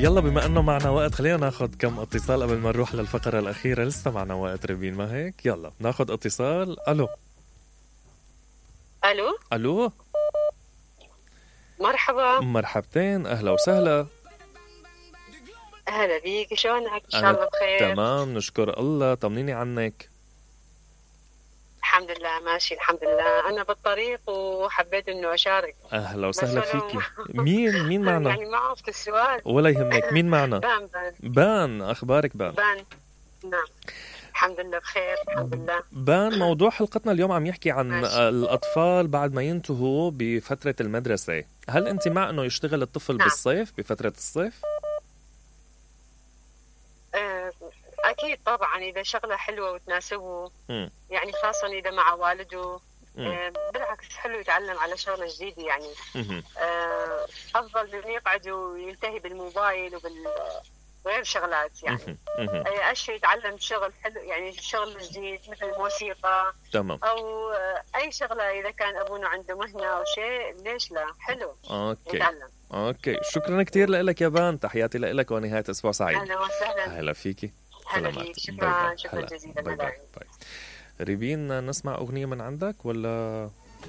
يلا بما انه معنا وقت خلينا ناخد كم اتصال قبل ما نروح للفقرة الأخيرة. لسه معنا وقت ريبين، ما هيك؟ يلا ناخد اتصال. الو الو الو، مرحبا. مرحبتين، اهلا وسهلا. اهلا بيك، شلونك؟ ان شاء الله بخير. تمام نشكر الله، طمنيني عنك. الحمد لله ماشي الحمد لله. انا بالطريق وحبيت انه اشارك. اهلا وسهلا فيكي. مين معنا؟ يعني ما عرفت السؤال. ولا يهمك، مين معنا؟ بان بان، اخبارك بان؟ نعم الحمد لله بخير الحمد لله. بان، موضوع حلقتنا اليوم عم يحكي عن ماشي. الأطفال بعد ما ينتهوا بفترة المدرسة. هل أنت مع أنه يشتغل الطفل نعم. بالصيف بفترة الصيف؟ اكيد طبعا اذا شغله حلوه وتناسبه، مم. يعني خاصه اذا مع والده. مم. بالعكس حلو يتعلم على شغله جديده يعني. مهم. افضل من يقعد وينتهي بالموبايل وغير شغلات يعني. مهم. مهم. اي اشي يتعلم شغل حلو يعني شغل جديد مثل الموسيقى تمام. او اي شغله اذا كان ابونا عنده مهنه او شيء، ليش لا؟ حلو اوكي يتعلم. اوكي، شكرا كثير لك يا بان، تحياتي لك ونهاية اسبوع سعيد. اهلا وسهلا. هلا فيكي. هلا سلامات. بيك. باي باي. شكرا جزيلا. باي باي. باي. ريبين، نسمع أغنية من عندك ولا